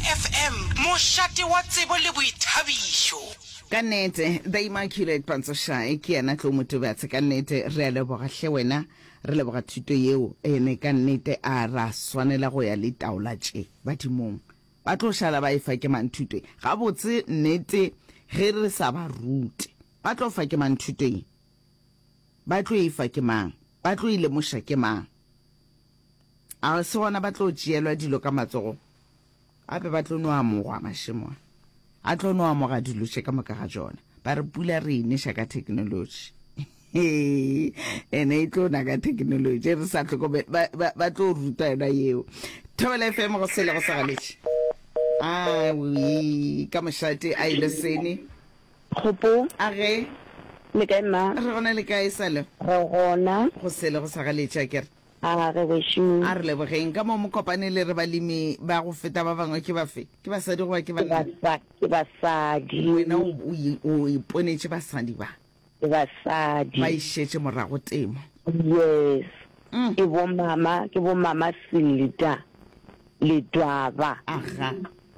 FM, mošate wa tsebo le boithabišo. Ka nnete, The Immaculate Pantsošae ke yena Tlou Motobatse. Ka nnete re a leboga hle wena, re leboga thuto yeo. Ene ka nnete a ra swanela go ya le taola tše badimong. Ba tlo šala ba efa ke mang thuto ye? Gabotse nnete ge re sa ba rute, ba tlo fa ke mang thuto ye? Ba tlo efa ke mang? Ba tlo e lemoša ke mang? A se gona ba tlo tšeelwa dilo ka matsogo? Gape ba tlo no amogwa mašemo a. A tlo no amoga dilo tše ka moka ga tšona. Ba re pula re e neša ka theknolotši. Ene e tlo na ka theknolotši re sa hlokomele. Ba, ba, ba tlo ruta yona yeo. Thobela FM go sele go sa galetše. Awi, ka mošate a ile sene. Kgopo. A ge. Le kae mma? Re gona le kae sale? Re gona. Go sele go sa galetše a kere. A re wešo. A re lebogeng. Ka mo Mokopane le re balemi ba go feta ba bangwe ke bafe? Ke basadi goba ke banna? Ke basadi. Wena o, o, o iponetše basadi ba. Ke basadi. Ba išetše morago temo. Yes. Mm. Ke bo mama, ke bo mama Silda Ledwaba. Aga.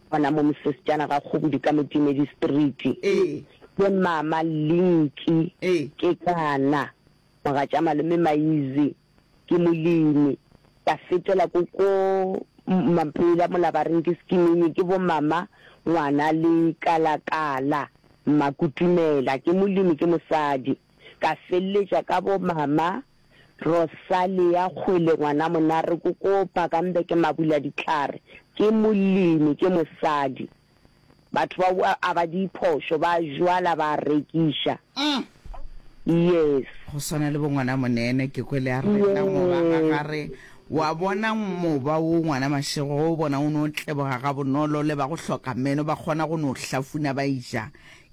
Gona mo Mosesejana ga Kgobodi ka Motimedi Street. Ee. Ke mama Linki. Ee. Kekana. Mogatša malome Maize ke molemi. Ka fetela ko ko Mapela mola ba reng ke Skimini ke bo mama ngwana le Kalakala Mmakutumela ke molemi ke mosadi. Ka feleletša ka bo mama Rosalia Kgwele ngwana Monare ko ko Bakambe ke Mabuladitlhare ke molemi ke mosadi. Batho ba a ba diphošo, ba jwala ba rekiša. Yes. Go swana le bo ngwana Monene, ke kwele a rena moba ga gare. Wa bona moba wo ngwana Mashego, ge o bona o no tleboga ga bonolo, le ba go hloka meno ba kgona go no hlafuna ba eja.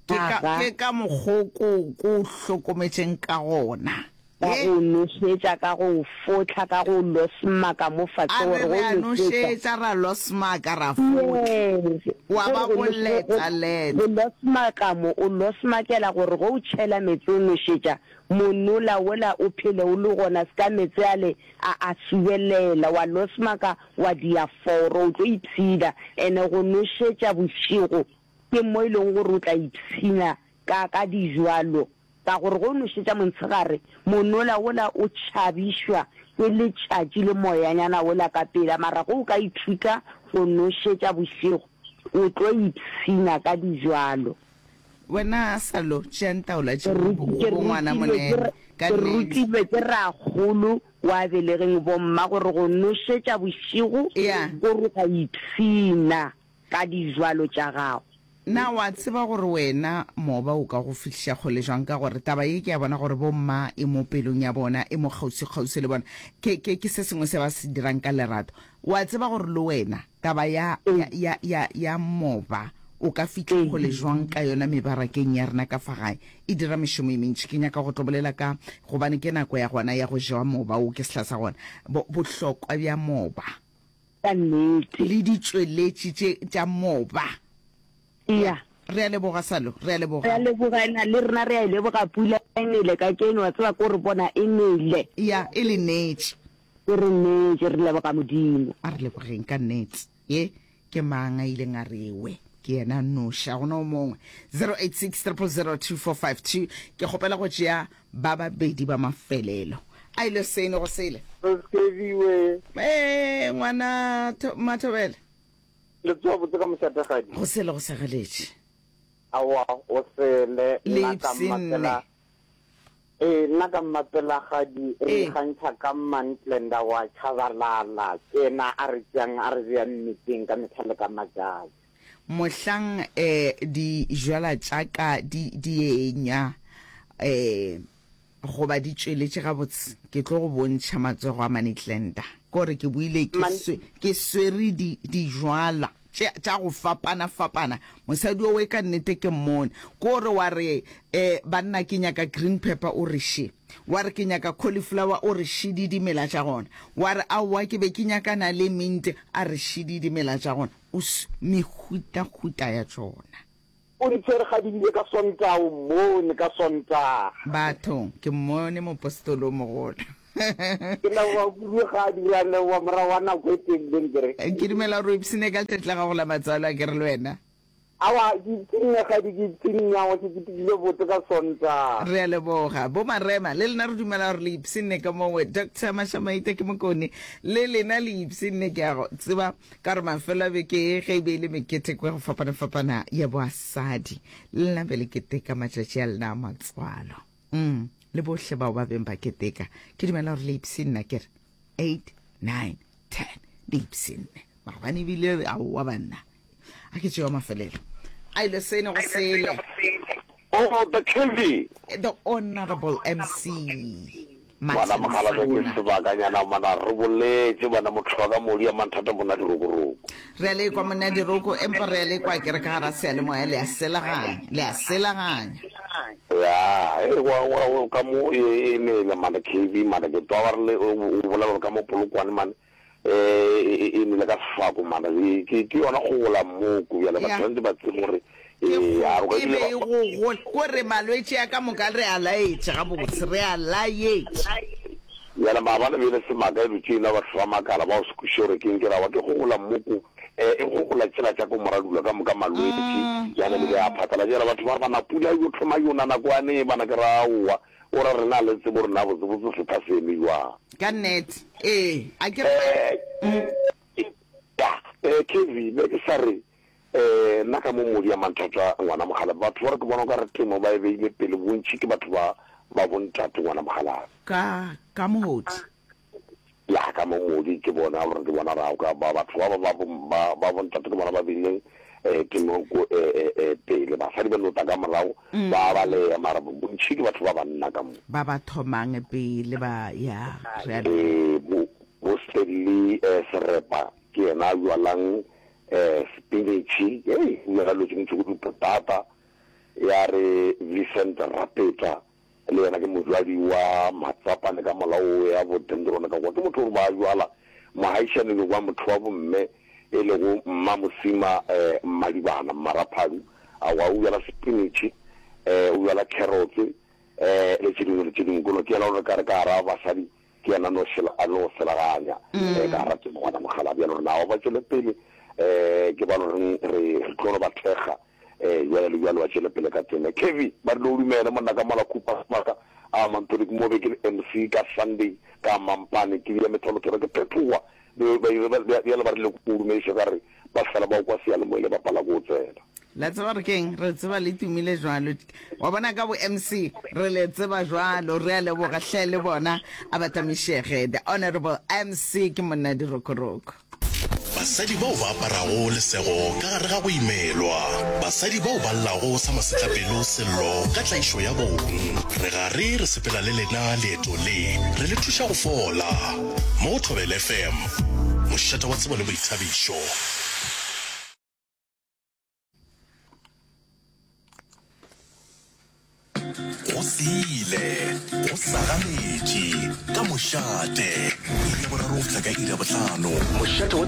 Ke ka, ke ka mokgo ko, ko o hlokometšeng ka gona. Ka go nošetša, ka go fohla, ka go losmaka mo fase A gore re go re a nošetša. nošetša, ra losmaka, ra fohla. Yes. Wa Gore ba go go nos-, go, leta, leta. go losmaka mo, o losmakela gore ge o tšhela meetse o nošetša, monola wola o phele o le gona, se ka meetse ale a a subelela. Wa losmaka, wa dia foro, o tlo ipshina. Ene go nošetša bošego ke mo e leng gore o tla ipshina ka, ka dijwalo. Ka gore ge o nošetša montshegare, monola wola o tšhabišwa ke letšatši le moyanyana wola ka pela, mara ge o ka ithuta go nošetša bošego, o tlo ipshina ka dijwalo. Wena Salo, tšeang taola tše go bo ngwana Monene, ka Ke nnete. rutilwe ke rakgolo wa belegeng bomma gore go nošetša bošego ko re o a ipshina ka dijwalo tša gago. Na wa tseba gore wena moba o ka go fihliša kgole jwang? Ka gore taba ye ke a bona gore bomma e mo pelong ya bona, e mo kgauswi-kgauswi le bona. Ke, ke, ke se sengwe se ba se dirang ka lerato. Wa tseba gore le wena taba ya, ya, ya, ya, ya moba o ka fihla kgole jwang ka yona mebarakeng ya rena ka fa gae. E dira mešomo e mentši. Ke nyaka go tlo bolela ka, gobane ke nako ya gona ya go jewa moba wo, ke sehla sa gona. Bo, bohlokwa bja moba. Ka nnete. Le ditšweletši tše tša moba. Ya. Re a leboga, Salo. Re a leboga. Re a leboga, na le rena re a e leboga pula e nele kajeno, wa tseba ko re bona e nele. Ya, e le neetše. E re neetše, re leboga Modimo. A re lebogeng ka nnete. Ye ke mang a ileng a re ewe? Ke yena a nnoši, ga gona o mongwe. 086 000 2452. Ke kgopela go tšea ba babedi ba mafelelo. A ile sene go sele. Skeviwe. Ee, ngwana Mathobela. Le tsoa botse ka mošategadi. Go sele go segeletše. Aowa, o sele. Le Nna ka ipshinne. mmapela. Ee, nna ka mmapelagadi re Ee. ikgantšha ka Mmantlenda wa Chabalala. Ke yena a re tšeang a re bea mmeteng ka mehla le ka matšatši. Mohlang eh dijwala tša ka di di enya eh goba di tšweletše gabotse, ke tlo go bontšha matsogo a Manetlenda. Ke gore ke boile ke Man swe ke swere di dijwala tše tša go fapana fapana. Mosadi owe ka nnete ke mmone. Ke gore wa re eh banna ke nyaka green pepper o re še. Wa re ke nyaka cauliflower o re šidi dimela tša gona. Wa re aowa ke be ke nyakana le mint a re šidi dimela tša gona. O s, mehutahuta ya tšona. O di tshwere ga di bile ka Sontaga, o mmone ka Sontaga. Bathong, ke mmone mopostolo o mogolo. Ke leboga kudu ga a dira leboga morago wa nako e telele nkere. Ke dumela gore o ipshinne ka letšatši la gago la matswalo a ke re le wena. Aowa, ke ipshinne kgadi, ke ipshinne, aowa, ke ketekile botse ka Sontaga. Re a leboga. Bo Marema, le lena re dumela gore le ipshinne ka mowe. Doctor Mashamaite ke Mokone, le lena le ipshinne, ke a go tseba, ka gore mafelo a beke ye ge e be e le meketeko ya go fapana-fapana ya boasadi, le lena be le keteka matšatši a lena a matswalo. Mm, le bohle bao ba beng ba keteka, ke dumela gore le ipshinne, ke re, 8, 9, 10, le ipshinne. Maabane ebile, aowa banna. A ke tšewa mafelelo. A ile sene go sele. Oh, the Kevy. The Honorable MC. Ngwana Martin mogala ke Sona. sebakanyana mana re boletše bana motho wa ka modi ya manthata monna dirokoroko. Re a lekwa monna diroko empa re a lekwa ke re ka gara seyalemoya le a selaganya le a selaganya. Ya, e wa wa ka mo e e nele mana KB mana ke twa ba re le o bolela gore ka mo Polokwane mane eh, e nele ka sefako mana ke ke yona go gola mmoko bjale ba tshwanetse ba tsebe gore eh, a e be e go gola ko re malwetši a ka moka re a laetše gabotse re a laetše bjale maabane bele semaka e dutše ena batho ba makala ba o se kweše gore keng ke rawa ke go gola mmoko eh, e go gola tsela tša ko moradula ka moka malwetši mm. jane le be a phatala jale batho ba re bana pula yo thoma yona nako ane bana ke raowa O ra rena le tsebo rena botsebotse setha se eme jwang. Ka nnete ee a ke re. Eh, ya, eh, KV, be ke sa re, eh, nna ka mo modi ya manthata ngwana mogalabi, batho ba re ke bona o ka re temo ba e beile pele bontši ke batho ba, ba bontate ngwana mogalabi. Ka, ka mohodi. Ya ka mo modi ke bona gore ke bona ra ka ba batho ba ba ba ba bontate ke bona ba beileng eh temo ko eh, eh, eh, pele basadi ba nota ka morago mm. ba ba le mara bontši ke batho ba banna ka mo ba ba thomang pele ba ya re a eh bo bo Stanley eh, Serepa ke yena a jwalang eh spinach hey o jwala dilo tse dintsi go dipotata ya re Vincent Rapeta Le yena ke mojwadi wa matsapane ka molao ya bo dendrone ka kwa. Ke motho gore ba jwala mohaišane le kwa motho wa bomme e lego Mma Mosima eh, Mmadibana Mmaraphadu. Awa o jwala spinach, eh, o jwala carrots eh, le tše dingwe le tše dingwe. Kono ke yena gore ka re ka gara basadi ke yena no šela a no selaganya eh, ka gara temo gona mogala bjalo re nao ba tšwele pele eh, ke ba loreng re re tlo no ba thekga Ee, bjale le bjalo ba tšwele pele ka tsela. Kevy, ba rile o dumele monna ka mola Cooper Maka a Mantoni ke mo be ke le MC ka Sunday ka Mampane ke bea metholotholo ke phethoga bjale ba rile o dumediše ka re ba fela ba o kwa seyalemoya le bapala ko tsela. La tseba gore keng re tseba le tumile jwalo wa bona ka bo MC re le tseba jwalo re a leboga hle le bona a batamišege the honorable MC ke monna dirokoroko. Basadi bao ba aparago lesego ka gare ga go imelwa. Basadi bao ba llago sa masetlapelo sello ka tlaišo ya bong. Re gare re sepela le lena leeto le, re le thuša go fola. Mo go Thobela FM, mošate wa tsebo le boithabišo. Go sile, go sagaletše, ka mošate, iri ya boraro go fihla ka iri ya bohlano. Mošate wa.